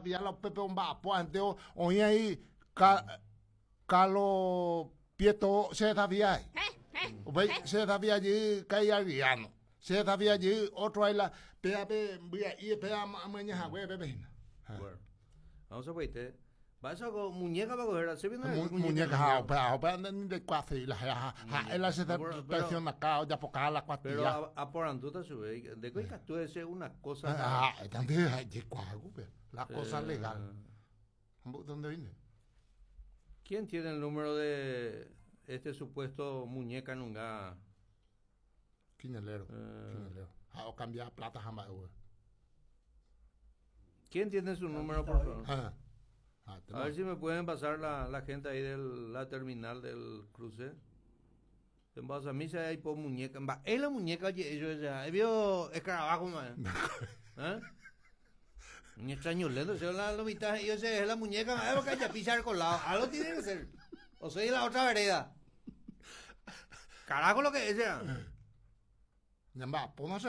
desafia la upépe omba'apo hente oĩ ai Carlos Prieto che desafia ai. Upéi che desafia jey Kai Adriano. Che desafia jey otro ai la péape mbya'ípe péa amyaña hague pépe hína. Bueno. Vamos a ver, Mba'éicha ko muñeca pa ko héra? Che piko Muñeca ha upéva upéva nde ni ndaikuaaséi la héra ha ha'e la che traicionaka ojapoka la kuatia. Pero aporandúta chupe, ndéko ikatu ese una cosa. Ha'éta nde jaikuaa upéva, la cosa legal. ¿Dónde vine? ¿Quién tiene el número de este supuesto muñeca nunga? Quinelero, quinelero. Ha ocambia plata ha mba'e upéva. ¿Quién tiene su número, por favor? Ah, ah, a ver si me pueden pasar la, la gente ahí de la terminal del cruce. En base a mí se hay por muñeca. Es la muñeca, oye, yo ya. He vio escarabajo, man. ¿Eh? Un extraño lento, se la, la mitad, yo sé, es la muñeca, es porque ya pisa el colado. Algo tiene que ser. O soy la otra vereda. Carajo lo que es, ya. Ñamba'apóna che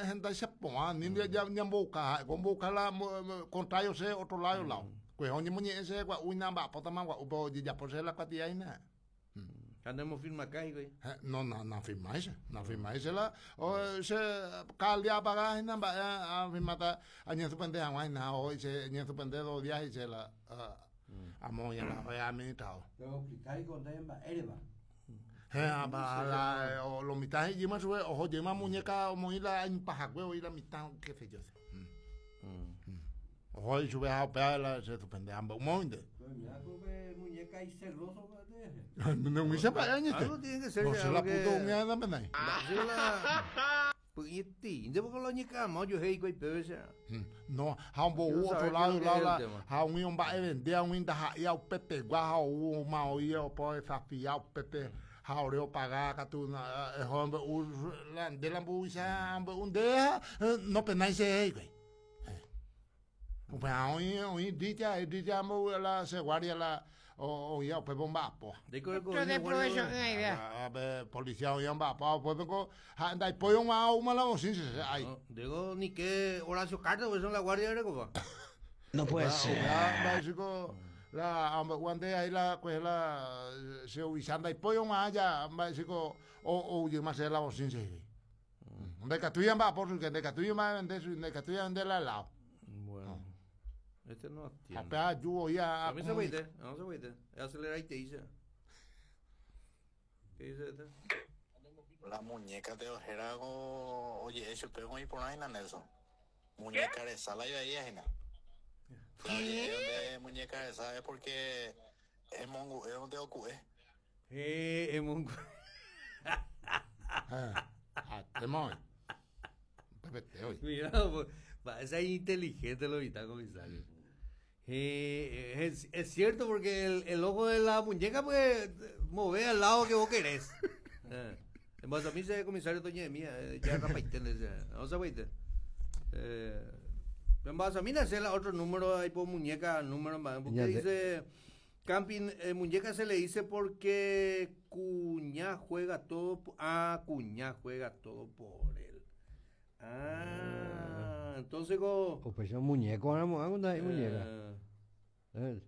hendáicha porã, ni ñambouka ha'e, ombouka la contrario che otro lado lado. Kuehe oñemoñe'ẽ che gua'u ñamba'apótama gua'u pe ojejapo che la kuatia hína. Ha nemofirmaka hikuái? No, no, nafirmái che, nafirmái che la che cada día apaga hína mba'e afirmáta añesupende hag̃ua hína ha che ñesupende dos días he'i che la amo oĩ administrador. Pero oexplica hikuái ndéve mba'érepa. Héẽ, la, o, lo mitã he'íma chupe, oho jeýma muñeca omoĩ la ipahague oĩ la mitã, qué sé yo. Oho he'i chupe ha upéva la che suspende ha mbo'ymóinte. Pero mira ko pe muñeca iceloso mba'e. No umícha mba'e añete. Algo tiene que ser. No se la puto umi anda penái. Mba'e la py'yetĩ, porque la oñeka'ama ojuehe hikuái péve che. No, ha ombou otro lado, lado la, ha umi omba'evendéva umi ndaha'éiva upepegua ha oúma oĩ opo desafia upépe ha ore opaga katu eho ombe'u la nde la mburuvicha ombe'u nde ha nopenái cherehe hikuái. Upéva oĩ oĩ richa richa ambo'u la che guardia la oĩva upépe omba'apóva. Pe policía oĩva omba'apóva upépe ko ha ndaipói og̃uahã oúma la bocina che ai. Ndéko ni ke Horacio Cartes upéicha la guardia rekopa. No puede ser. Upéva mba'éichiko la ambe'úva nde ahí la kuehe la che ovicha ndaipói og̃uahã ja mba'éichiko ou jeýma chéve la bocina he'i. Ndaikatúi amba'apo chupe, ndaikatúi amba'evende chupe, ndaikatúi avende la helado. Bueno. Este no atiende. Ha upéva aju voi a Dame ese güey, dame ese güey. Aceleraite dice. ¿Qué dice este? La muñeca te ojera ko oje'e chupe oĩ porã hína Nelson. Muñeca resa la ivaíva hína. La oje'e donde muñeca resa es porque emongu'e donde oku'e. Héẽ, emongu'e. Mira, mba'éicha inteligente lo mitã comisario. Héẽ, es, es cierto porque el, el ojo de la muñeca pues move al lado que vos querés. Eh. En base a mí ese comisario toñe'ẽmi eh, ya rapaite nde no sapaite. Eh, en base a mí nace la otro número ahí por muñeca número mba'e porque dice Camping eh, muñeca se le dice porque cuña juega todo ah cuña juega todo por él. Ah, entonces ko Upéicha muñeco ramo ág̃a ndaha'éi muñeca. Eh.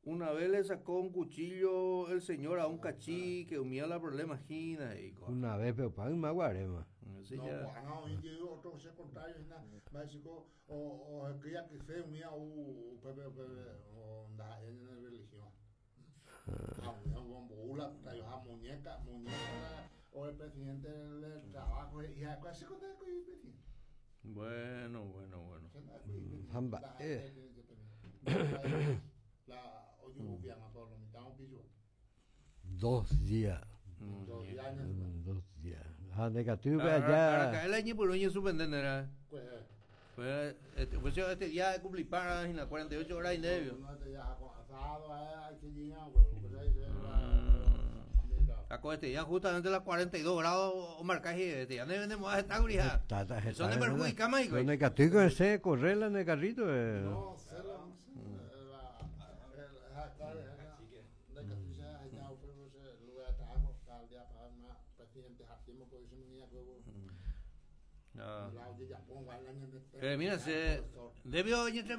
Una vez le sacó un cuchillo el señor a un cachique, umíva la problema hína, he'i ko'ág̃a. Una vez pe opa yma guaréma. Ese No, ya. ko'ág̃a oĩ jey otro che contrario hína, mba'éichiko Ohekýi akyse umíva ou upépe upépe ndaha'éi ñane religión. Ha umíva ombou la traioha muñeca, muñeca o el presidente del trabajo he'i ha'ekuéra che ko ndaha'éi presidente. Bueno, bueno, bueno. Che ndaha'éi Ha mba'e. La ojuhupiáma por lo mitad un piso. Dos días. Dos días. Dos días. Ha ndekatúi upe aja. Araka'e la iñepyrũ oñesuspende nde ra'e. Pues este, pues este día cumplipára hína 48 horas y medio. Ah, con este día justamente las 42 grados omarca este día no vendemos a esta gurija. Eso no perjudica más. Pero ndekatúi con ese correr en el carrito. No, se la Mira, se debió.